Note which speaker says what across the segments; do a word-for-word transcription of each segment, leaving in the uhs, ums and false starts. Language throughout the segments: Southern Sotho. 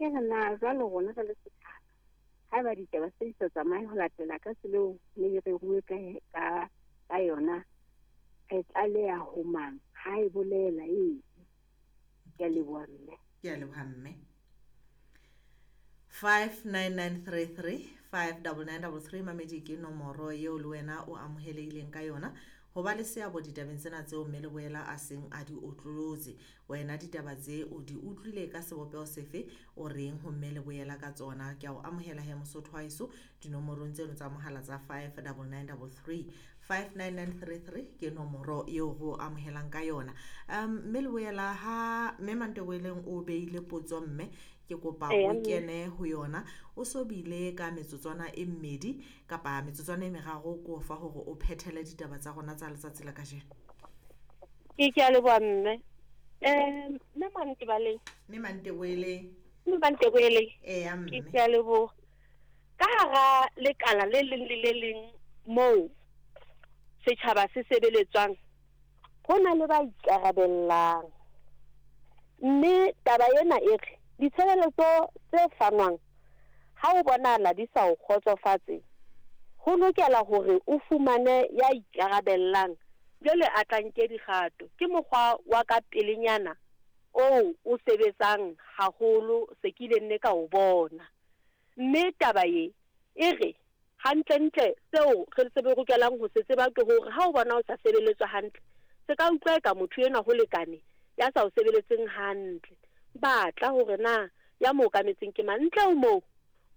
Speaker 1: Ke re na jwalo rona re le setjhaba, haeba ditaba tse di sa tsamaye ho latela ka tsela eo ne di reruwe ka ka ka yona, re tlaleha ho mang? Ha e bolela eng? Ke a leboha mme.
Speaker 2: Ke a leboha mme. five nine nine three three five double nine double three mamedi ke nomoro eo le wena o amohelehileng ka yona ho ba le seabo ditabeng tsena tseo mme Leboela a seng a di otlolotse. Wena ditaba tse o di utlwile ka sebopeho sefe, o reng ho mme Leboela ka tsona? Ke a o amohela he Mosotho wa heso dinomorong tseno tsa mohala tsa five double nine double three five nine nine three three ke nomoro eo re o amohelang ka yona. Um mme Leboela ha mme Manteboeleng o beile potso mme ke kopa
Speaker 3: Eya,
Speaker 2: o
Speaker 3: mme.
Speaker 2: kene ho yona o so bile ka metsotswana e mmedi kapa metsotswana e meraro ko fa hore o phethele ditaba tsa rona tsa letsatsi la kajeno.
Speaker 3: Ke ke a leboha mme. Eh mme Mantebaleng.
Speaker 2: Mme Manteboeleng.
Speaker 3: Mme Manteboeleng.
Speaker 2: Eya
Speaker 3: Ke
Speaker 2: mme.
Speaker 3: ke a leboha. Ka hara lekala le leng le le leng moo setjhaba se sebeletswang, ho na le ba ikarabellang. Mme taba ena e re ditshebeletso tse fanwang ha o bonahala di sa o kgotsofatse, ho lokela hore o fumane ya ikarabellang jwale a tla nke dikgato. Ke mokgwa wa ka pelenyana oo o sebetsang haholo se ke ile nne ka o bona. Mme taba e e re hantlentle seo re se lokelang ho se tseba ke hore ha o bona o sa sebeletswa hantle, se ka utlwa eka motho enwa ho lekane ya sa o sebeletseng hantle. Batla hore na ya mo okametseng ke mang. Ntle ho moo,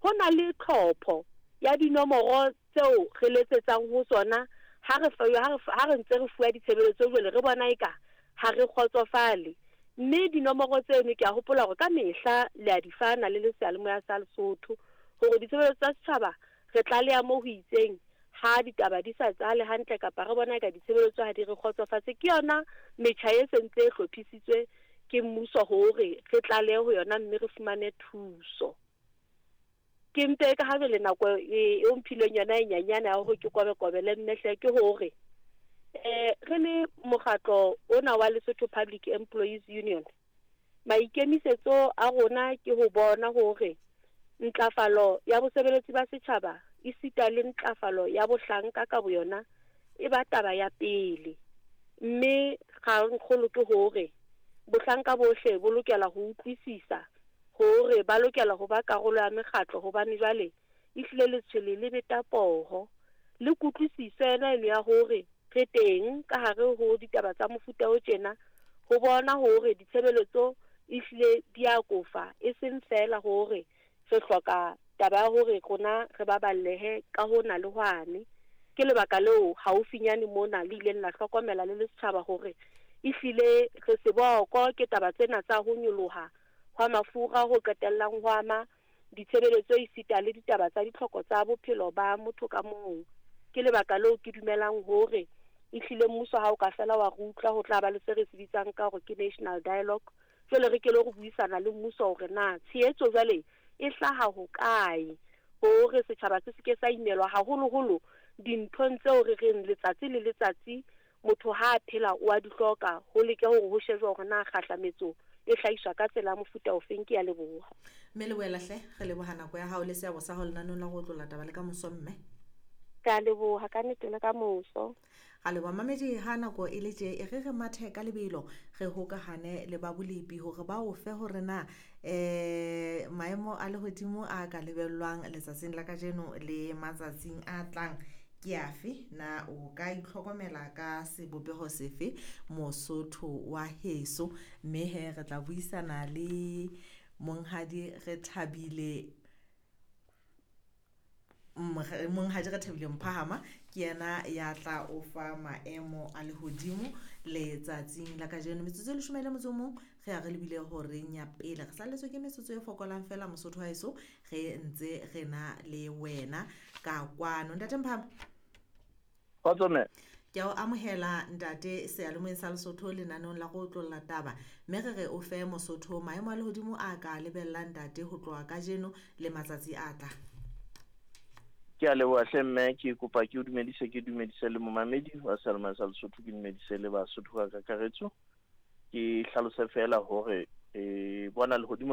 Speaker 3: ho na le tlhopho ya dinomoro tseo re letsetsang ho tsona ha re ha re ha re ntse re fuwa ditshebeletso jwale re bona eka ha re kgotsofale. Mme dinomoro tseno ke a hopola hore ka mehla le a di fana le le seyalemoya sa Lesotho hore ditshebeletso tsa setjhaba re tlaleha moo ho itseng ha ditaba di sa tsale hantle kapa re bona eka ditshebeletso ha di re kgotsofatse. Ke yona metjha e sentse e hlophisitswe ke mmuso hore re tlalehe ho yona mme re fumane thuso. Ke mpe ka ha jwale nako e o mphileng yona e nyenyane ya hore ke kobe-kobele mme hle ke hore eh re le mokgatlo ona wa Lesotho Public Employees Union, maikemisetso a rona ke ho bona hore ntlafalo ya bosebeletsi ba setjhaba esita le ntlafalo ya bohlanka ka boyona e ba taba ya pele. Mme kgangkgolo ke hore bohlanka bohle bo lokela ho utlwisisa hore ba lokela ho ba karolo ya mekgatlo, hobane jwale ehlile letshwele le beta poho. Le kutlwisiso ena eno ya hore re teng ka hare ho ditaba tsa mofuta o tjena ho bona hore ditshebeletso ehlile di a kofa, e seng feela hore re hloka taba ya hore rona re baballehe ka hona le hwane. Ke lebaka leo haufinyane mona le ileng la hlokomela le le setjhaba hore ehlile re seboko ke taba tsena tsa ho nyoloha hwa mafura ho qetellang ho ama ditshebeletso esita le ditaba tsa ditlhoko tsa bophelo ba motho ka mong. Ke lebaka leo ke dumelang hore ehlile mmuso ha o ka fela wa re utlwa ho tla ba le se re se bitsang ka hore ke national dialogue. Jwale re ke lo re buisana le mmuso hore na tshehetso jwale e hlaha hokae hore setjhaba se seke sa imelwa haholoholo dinthong tseo re reng letsatsi le letsatsi motho ha a phela o a di hloka, ho leke hore ho shejwe hore na kgahlametso e hlahiswa ka tsela ya mofuta ofeng. Ke a leboha.
Speaker 2: Mme Leboela hle, re leboha nako ya hao le seabo sa hao lenaneong la go otlolla taba le ka moso mme.
Speaker 3: Ke a leboha ka nnete le ka moso.
Speaker 2: Ga leboha mamedi ha nako e le tje e re re mathe ka lebelo re hokahane le ba bolepi hore ba o fe hore na eh maemo a lehodimo a ka lebellwang letsatsing la kajeno le matsatsing a tlang ke afe, na o ka itlhokomela ka sebopeho sefe Mosotho wa heso. Mme he re tla buisana le monghadi Rethabile Monghadi Rethabile Mphahama, ke yena ya tla o fa maemo a lehodimo letsatsing la kajeno. Metsotso e leshome le motso o mong re ya re lebile horeng ya pele, re salletswe ke metsotso e fokolang fela Mosotho wa heso, re ntse re na le wena ka kwano. Ntate Mphahama.
Speaker 4: Kgotso mme.
Speaker 2: Ke a o amohela ntate seyalemoyeng sa Lesotho lenaneong la go otlolla taba, mme re re o fe Mosotho maemo a lehodimo a ka lebellang ntate ho tloha kajeno le matsatsi a tlang.
Speaker 4: Ke a leboha hle mme, ke kopa ke o dumedise, ke dumedise le momamedi wa seyalemoya sa Lesotho, ke dumedise le Basotho ka kakaretso. Ke hlalose feela hore e bona lehodimo